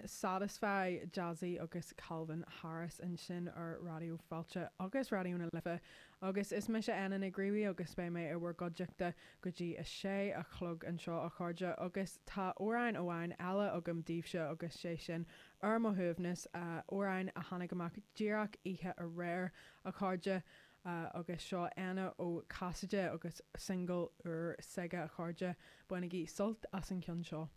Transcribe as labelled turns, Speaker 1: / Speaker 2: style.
Speaker 1: Sin Satisfy, Jazzy agus Calvin Harris ansin ar Raidió Fáilte agus Raidió na Life agus is mise Éanna Nic Griabhaigh agus beidh mé i bhur gcuideachta go dtí a sé a chlog anseo a chairde agus tá amhrán amháin eile agam daoibhse agus sé sin Ar Mo Shuaimhneas, amhrán a tháinig amach díreach oíche aréir a chairde agus seo Éanna Ó Casaide agus singil úr s'aige a chairde, bainigí sult as an cheann seo.